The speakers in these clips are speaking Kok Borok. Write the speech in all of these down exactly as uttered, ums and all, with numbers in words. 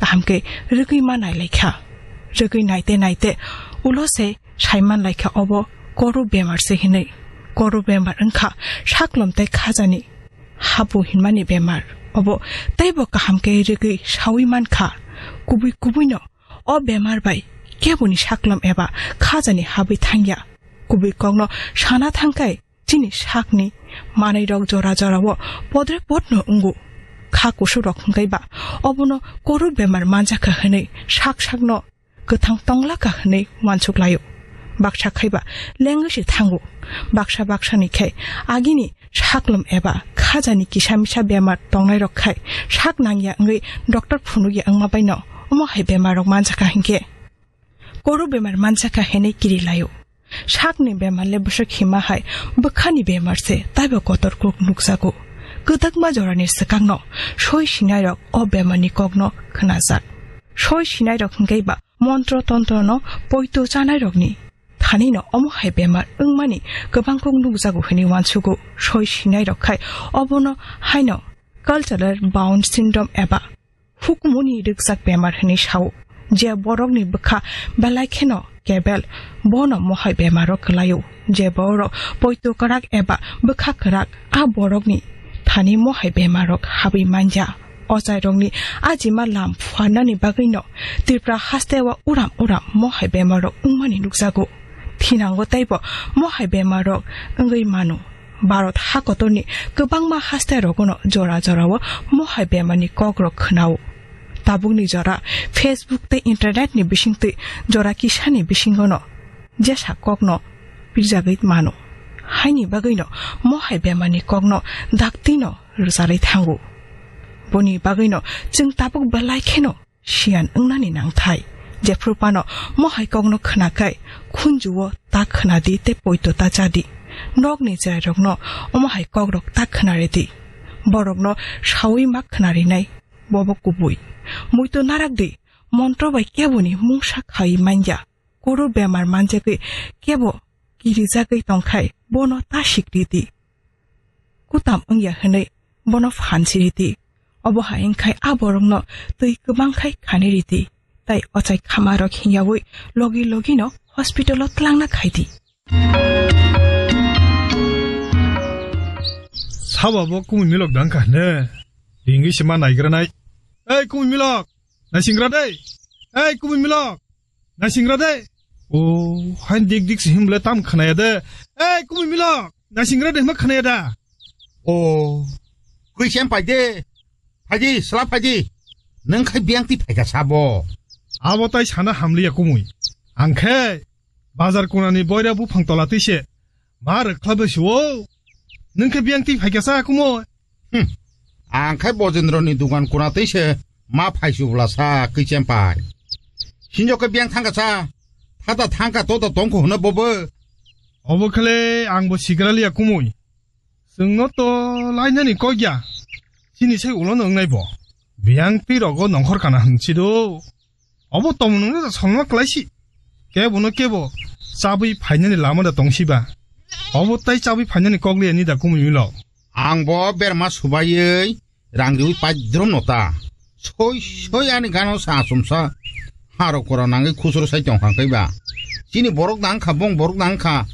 hamkhe rwgwi ma nailaikha. Rwgwi naite naite ulo se saiman laikha obo koru bemar se hinwi. Koru bemar wngkha saklom tei khajani habu hinmani bemar. Obo teibo kaham khe rwgwi saui mankha. Kubui kubuino o bemar bai keboni saklom eba khajani habwi thangya. Kubui kokno sana thangkhai chini sakni manwirok jora jorao podre podno wngo. Kha kusurok hwnkhe ba obono koru bemar manjakha hwnwi sak sakno kwthang tonglakha hwnwi uansuk laio. Baksa khaiba lengwi se thango. Baksa baksani khe agini saklom eba khajani kisa misa bemar tongnairok khai sak nangya wngwi doctor phunukya wngma baino omo hai bemarrok manjakha hinkhe koru bemar manjakha hwnwi kiri laio. Sakni bemar le bwswk hima hai bwkhani bemar se taibo kotor kuk nukjago. Kwdakma jorani swkangno soi sinairok o bemarni kokno khnajak. Soi sinairok hwnkhe ba montro tontrono poito chanairokni thanino omo hai bemar wngmani kwbang kuk nukjago hwnwi uansugo. Soi sinairok khai obono haino cultural bound syndrome eba hukumuni rwkjak bemar hwnwi sao. Je borokni bwkha belai kheno kebel bono mohai bemaro kwlaio. Je borok poito kwrak eba bwkha kwrak a borokni thani mohai bemarok habwi manya. Ochairokni ajima lam phuarnani bagwino Tripura hasteo uram uram mohai bemarok wngmani nukjago. Thinango teibo mohai bemarok wngwi mano. Bharat hakotorni kwbangma haste rogono jora jorao mohai bemarni kokrok khwnao. Tabukni jora Facebook tei internet ni bisingtwi jora kisani bisingono jesa kokno pirjagwi mano. Haini bagwino mohai bemarni kokno daktino rwcharwi thango. Boni bagwino chwng tabuk belai kheno siyan wngnani nangthai. Jephru phano mohai kokno khwnakhai khunjuo ta khwnadi tei poito ta chadi. Nokni chwrairokno omo hai kokrok ta khwnaridi. Borokno saui ma khwnarinai bobo kubui. Muito narakdi, montro bai keboni mungsa khai manya. Koru bemar manjagwi kebo kirijagwi tongkhai bono ta sikridi. Kutam wngya hwnwi bono phan siridi. Obo hai wngkhai a borokno twi kwbang khai khani ridi. Tai ochai khamarok hingyawi logi logino hospital-o twlangna khaidi. Sabo bo kumui milok dangkha hne. Ringwi se ma naigranai. Ei kumui milok, naisingra dei. Ei kumui milok, naisingra dei. O, hain dik dik se himle tam khnaya de. Ei kumui milok, naisingra dei hma khnaya da. O, kwi sem pai de. Phaidi, sla phaidi. Nang khai biang ti phaika sabo. Abo tai sana hamliya kumui. Ang khe bazar kunani boira buphang tola tise. Ma rwkhlaibai se o. Nang khe biang ti phaika sa kumui. Hmm. Ang khai Bojendroni dugan kuna tei se ma phaisu bwla sa kwi chempai. Sinjo khe biyang thangka sa. Thata thangka tota tongkho hwna bobo. Obo khle ang bo sigra liya kumui. Chwngno to lainani kok ya. Chini sai ulo nwngnai bo. Biyang twi rogo nongkhor kana hwn si do. Obo tongmung no da songma kwlaisi. Kebo no kebo chabwi phainani lama da tongsiba. Obo tai chabwi phainani kok liya ni da kumui milo. Ang bo berma subaiwi rang riwi paidrom no ta. Soi soi ani gano sa achomsa. Haro kora nangwi khusro sai tong kha kaiba. Chini borok dang kha, bong borok dang kha.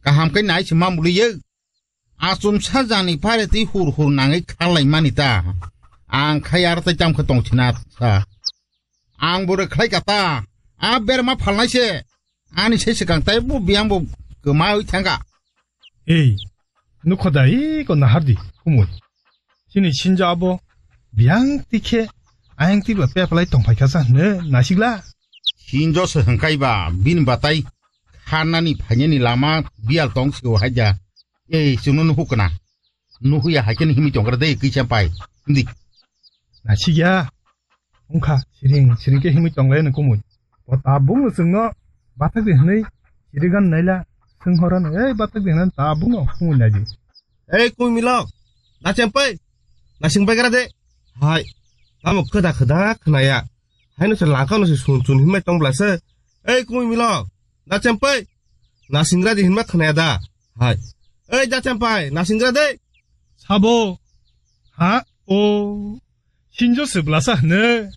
Kaham khe nai se mamuli ye. Achomsa jani pare twi hur hur nangwi kharlai mani ta. Ang khai ar tai tam khe tong thina sa. Ang bo rwkhlai ka ta. A berma phalnai se. Ani se swkang tai bo biyang bo kwmawi thangka. Ei, nukho da eko nahardi, kumui. Chini sinjo abo biyang tikhe ayang tikba peplai tongphai kha sa hne nasigla. Sinjo se hwnkaiba bini batai kharnani phainani lama biyal tong sio haida. Ei, chwngno nuhukna. Nuhuya hai khe himwi tongkra de kisa pai. Hindi. Nasikya. Wngkha siring siring khe himwi tonglai no kumui. O tabuk no chwngno bathak di hwnwi sirigan naila swng horo no, "Ei bathak di hwnwi tabuk no kumui naidi." Ei kumui milok, nachem pai, nasing pai gra de. Hai, tamo khwda khwda khwnaya. Haino se langka no se sun chun himai tong bla se. Ei kumui milok, nachem pai, nasingra di hinma khwnaya da. Hai. Ei nachem pai, nasingra de. Sabo. Ha? O. Sinjo se blasa hne.